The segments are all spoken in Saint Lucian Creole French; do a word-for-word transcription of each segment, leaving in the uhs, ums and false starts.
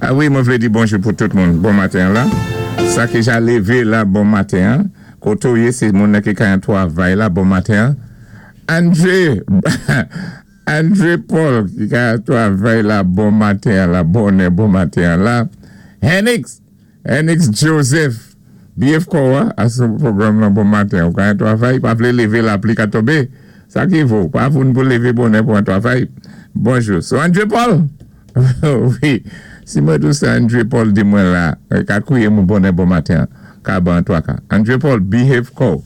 A wi, mwen vlé di bonjou pou tout moun. Bon maten la. Sa ki ja lévé la, bon maten. Koto yé, sé moun ki ka an twavay la, bon maten. André, André Paul ki ka an twavay la, bon maten la, bonè, bon maten la. Henix, Henix Joseph, B F Kowa, asou pwogram la, bon maten. Ou ka an twavay, pa vlé lévé, lapli ka tonbé. Sa ki vo, pa voun pou lévé bonè pou an twavay. Bonjou. So André Paul, wi, si mwen dou sa André Paul di mwen la, ka kouye mwen bonè bon maten, ka ban toa ka. André Paul, behave ko.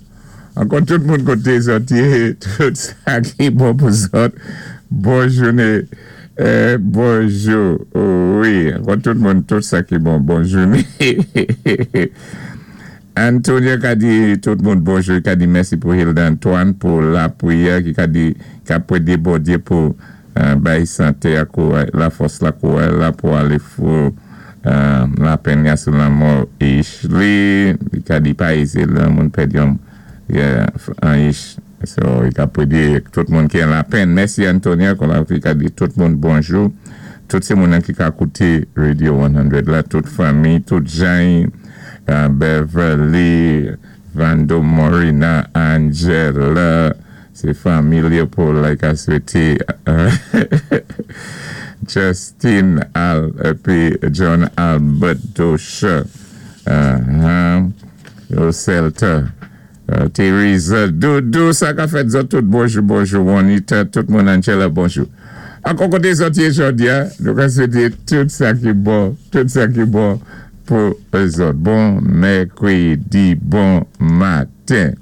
Ankò tout moun koté zòt yé, tout sa ki bon pou zòt. Bon jouné, eh, bonjou, wi, ankò tout moun, tout sa ki bon, bon jouné. Antonio ka di tout moun bonjou, ka di mèsi pou Hilda Antoine pou lapriyè, ki ka di ka pwédé Bondyé pou euh, bay santé a kouray, la fòs la kouray la pou alé fou euh, lapenn ya sou lanmò Ishli, li ka di pa ézé la moun pèdi yon an ish. So, i ka pwédé tout moun ki an lapenn. Mèsi Antonio, kon la ki ka di tout moun bonjou. Tout sé moun ki ka kouté Radio san la, tout fanmi, tout jan, uh, Beverly, Vando Morina, Angela, sé fanmi Leopold la ka swété uh, Justin Al, épi John Albert Dosha, uh, uh, Celta, uh, Teresa, Doudou, sa ka fèt zòt tout bonjou, bonjou, Juanita, tout moun, Angela, bonjou. Ankò koté zòt yé jòdi a, nou ka swété tout sa ki bon, tout sa ki bon pou zòt. Bon mèkwédi, bon maten.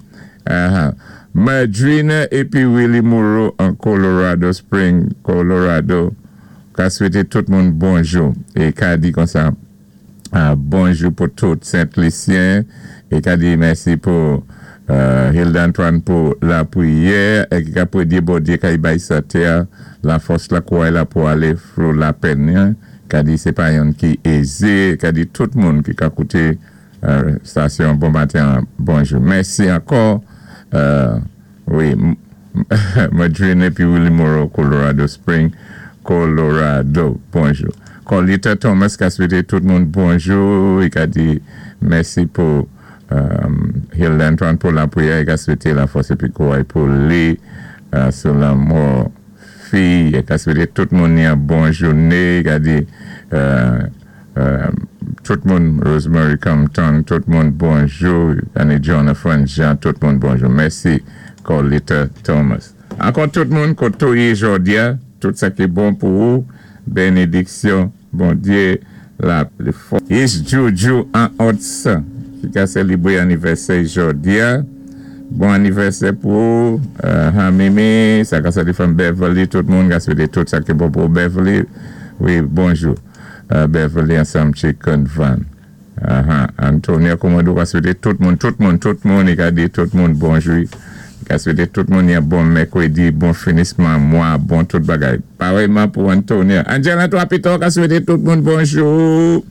Uh-huh. Madrina épi Willie Moreau an Colorado Spring, Colorado, ka swété tout moun bonjou. É ka di kon sa, uh, bonjou pou tout Saint-Lucien, é ka di mèsi pou uh, Hilda Antoine pou lapriyè, é ki ka pwédé Bondyé ka y bay santé a, la fòs la kouray la pou alé flou lapenn, hein. Ka di sé pa yon ki ézé, ka di tout moun ki ka kouté uh, stasyon bon maten, bonjou. Mèsi ankò, uh, wi, Madrina épi Willie Moreau, Colorado Spring, Colorado, bonjou. Colita Thomas ka swété tout moun bonjou, i ka di mèsi pou um, Hilda Antoine pou lapriyè, i ka swété la fòs épi kouray pou li uh, sou lanmò fi, i ka swété tout moun yon bon jouné, i ka di uh, uh, tout moun Rosemary Compton, tout moun bonjou, Annie Jonathan Jean, tout moun bonjou. Mèsi Colita Thomas. Ankò tout moun koto yé jòdi a, tout sa ki bon pou ou, bénédiksyon, Bondyé, la pli fò. Is Juju an Otsa, ki ka sélébré anivèsè jòdi a. Bon anivèsè pou ou, uh, Hamimi, sa ka sali from Beverly, tout moun ka swété tout sa ki bon pou Beverly. Wi, bonjou. Uh, Beverly ansanm Chicken Van. Uh-huh. Antonio Komodo ka swété tout moun, tout moun, tout moun, i ka di tout moun bonjou. I ka swété tout moun yon bon mèkwédi, bon finisman mwa, bon tout bagay. Parèyman pou Antonio. Angela Antoine ka swété tout moun bonjou.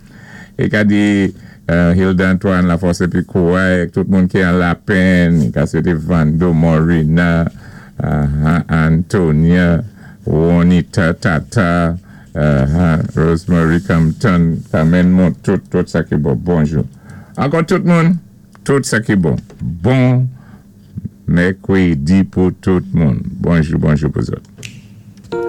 I ka di uh, Hilda Antoine, la fòs épi kouray, tout moun ki an lapenn, i ka swété Vando Morina, uh, Antonia, Juanita Tata, uh, Rosemary Compton, Carmen Mont, tout, tout sa ki bon, bonjou. Ankò tout moun, tout sa ki bon. Bon mèkwédi pou tout moun. Bonjou, bonjou pou zòt.